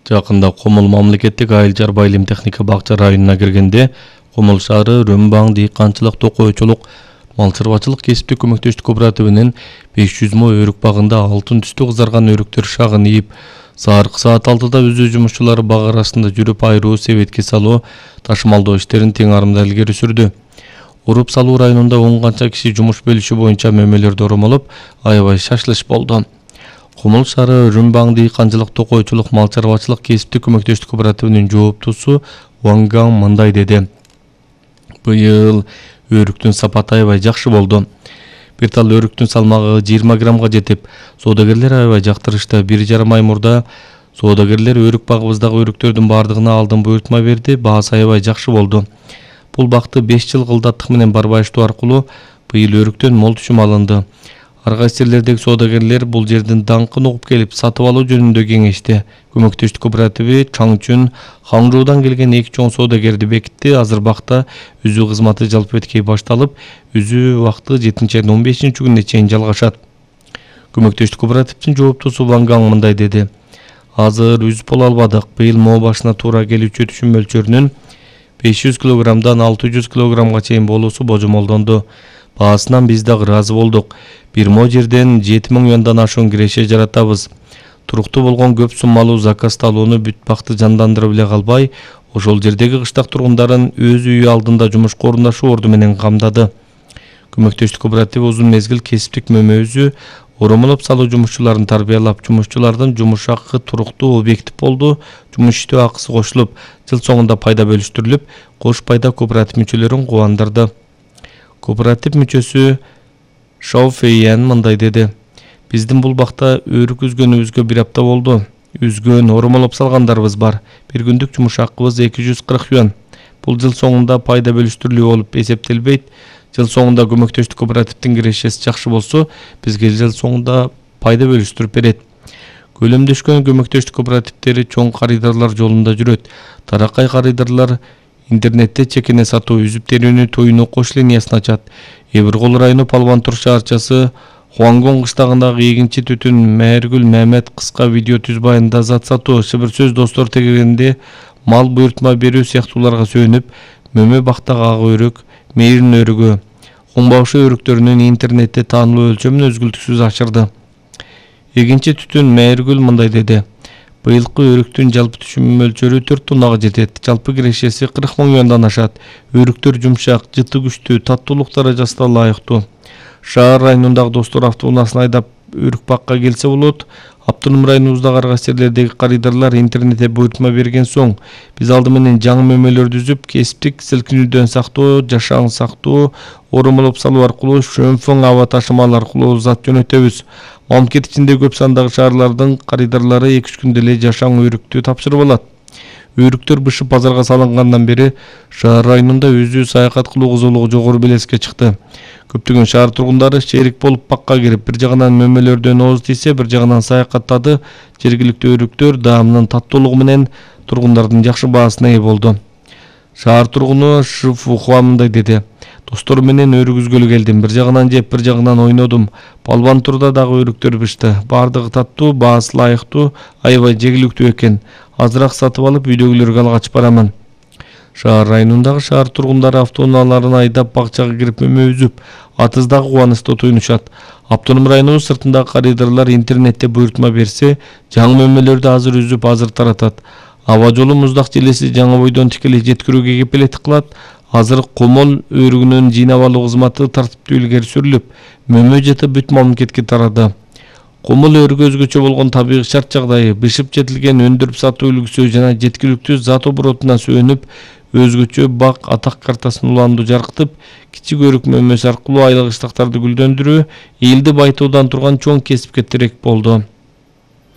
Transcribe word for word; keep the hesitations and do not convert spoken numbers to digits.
Жакында Комул мамлекеттик айыл чарба илим техника бакча районуна киргенде Комул шаары Рөмбаң дыйканчылык токойчулук мал чарбачылык кесиптик көмөктөштүк кооперативинин беш жүз мо өрүк багында алтын түстүү кызарган өрүктөр шагын ийип, сааркы саат алтыда өзү жумушчулары баг арасында жүрүп айруу, себетке салуу, ташымалдоо иштерин тең арымда илгери сүрдү. Уруп салуу районунда он канча киши жумуш бөлүшү боюнча мөмөлөрдү оромолоп, аябай шашылыш болду. Комул шаары Рөмбаң дыйканчылык токойчулук мал чарбачылык кесиптик көмөктөштүк кооперативинин жооптусу Ванган мындай деди. Быйыл өрүктүн сапаты аябай жакшы болду. Бир тал өрүктүн салмагы жыйырма граммга жетип, соодагерлер аябай жактырышты. Бир жарым ай мурда соодагерлер өрүк багыбыздагы өрүктөрдүн бардыгына алдын буйртма берди, баасы аябай жакшы болду. Бул бакты беш жыл кылдаттык менен барбайыштоо аркылуу быйыл өрүктөн мол түшүм алынды. Ар кайсы жерлердеги соодагерлер бул жердин даңкын угуп келип сатып алуу жөнүндө кеңешти. Көмөктөштүк кооперативи Чаңчүн, Хаңжуудан келген эки чоң соодагерди бекитти. Азыр бакта үзүү кызматы жалпы беткей башталып, үзүү убакыты жетинчи айдын он бешинчи күнүнө чейин жалгашат. Көмөктөштүк кооперативдин жооптусу Ванган мындай деди. Азыр үзүп боло албадык. Быйыл моо башына туура келүүчү түшүм мөлчөрүнүн беш жүз килограммдан алты жүз килограммга чейин болуусу божомолдонду. Баасынан биз дагы ыраазы болдук. Бир мо жерден жети миң юандан ашуун киреше жаратабыз. Туруктуу болгон көп суммалуу заказды алууну бүт бакты жандандырып эле калбай, ошол жердеги кыштак тургундарын өз үйү алдында жумушка орундашуу орду менен камдады. Көмөктөштүк кооперативи узун мезгил кесиптик мөмөзү оромолоп салуу жумушчуларын тарбиялап, жумушчулардын жумуш акы туруктуу объектив болду. Жумуш иштөө акысы кошулуп, жыл соңунда пайда бөлүштүрүлүп, кош пайда кооператив мүчөлөрүн кубандырды. Кооператив мүчөсү Шауфейян мындай деди. Биздин бул бакта өрүк үзгөнүбүзгө бир апта болду. Үзгөн, оромолоп салгандарыбыз бар. Бир күндүк жумуш акыбыз эки жүз кырк юан. Бул жыл соңунда пайда бөлүштүрүлүү болуп эсептелбейт. Жыл соңунда көмөктөштүк кооперативдин кирешеси жакшы болсо, бизге жыл соңунда пайда бөлүштүрүп берет. Көлөмдөшкөн көмөктөштүк кооперативдери чоң карыдарлар жолунда жүрөт. Таракай карыдарлар интернетте чекене сатуу, үзүп терүүнү тоюну кош линиясын ачат. Эбиркол району Палбантур шаарчасы Хуангон кыштагындагы эгинчи түтүн Мээргүл Мамед кыска видео түзбайында зат сатуу, шыбыр сөз достор тегеренде мал буйртма берүү сыяктууларга сөөнүп, мөмө бактагы ак өрүк, мээрин өрүгү, куңбашы өрүктөрүнүн интернетте таанылуу өлчөмүн өзгүлтүксүз ашырды. Эгинчи түтүн Мээргүл мындай деди. Быйылкы өрүктүн жалпы түшүм мөлчөрү төрт тоннага жетет. Жалпы кирешеси кырк миң юандан ашат. Өрүктөр жумшак, жыты күчтүү, таттуулук даражасына ылайыктуу. Шаар районундагы достор автоунаасын айдап өрүк бакка келсе болот. Автоном районубуздагы ар кайсы жерлердеги карыдарлар интернетте буйртма берген соң, биз алды менен жаңы мөмөлөрдү үзүп, кесиптик силкинүүдөн сактоо, жашаң сактоо, оромолоп салуу аркылуу шөмфөң аба ташымалы аркылуу зат жөнөтөбүз. Мамлекет ичинде көп сандагы шаарлардын карыдарлары эки үч күндө эле жашаң өрүктү тапшырып алат. Өрүктөр бышып базарга салынгандан бери шаар районунда өзү саякат кылуу кызуулугу жогору белеске чыкты. Көптөгөн шаар тургундары шерик болуп бакка кирип, бир жагынан мөмөлөрдөн ооз тийсе, бир жагынан саякаттады. Жергиликтүү өрүктөр даамынын таттуулугу менен тургундардын жакшы баасына ээ болду. Шаар тургуну Шифухуа мындай деди. Достор менен өрүк үзгөлү келдим. Бир жагынан жеп, бир жагынан ойнодум. Палбантурда дагы өрүктөр бышты. Бардыгы таттуу, баасы ылайыктуу, аябай жегиликтүү экен. Азыраак сатып алып, үйдөгүлөргө алгач барамын. Шаар районундагы шаар тургундары автоунааларын айдап бакчага кирип мөмө үзүп, атыздагы кубанычта туйнушат. Автоном районубуз сыртындагы карыдарлар интернетте буйртма берсе, жаңы мөмөлөрдү азыр үзүп, азыр таратат. Аба жолу муздак желеси жаңы бойдон тикелей жеткирүүгө кепилеттик кылат. Азыр Комол өрүгүнүн жыйнап алуу кызматы тартиптүү илгери сүрүлүп, мөмө жыты бүт мамлекетке тарады. Комол өрүгү өзгөчө болгон табигый шарт жагдайы, бышып жетилген өндүрүп сатуу үлгүсү жана жеткиликтүү зат оборотуна сөөнүп, өзгөчө бак атак картасын уланду жаркытып, кичик өрүк мөмөсү аркылуу айлык ыштактарды гүлдөндүрүү элди байтуудан турган чоң кесипке тирек болду.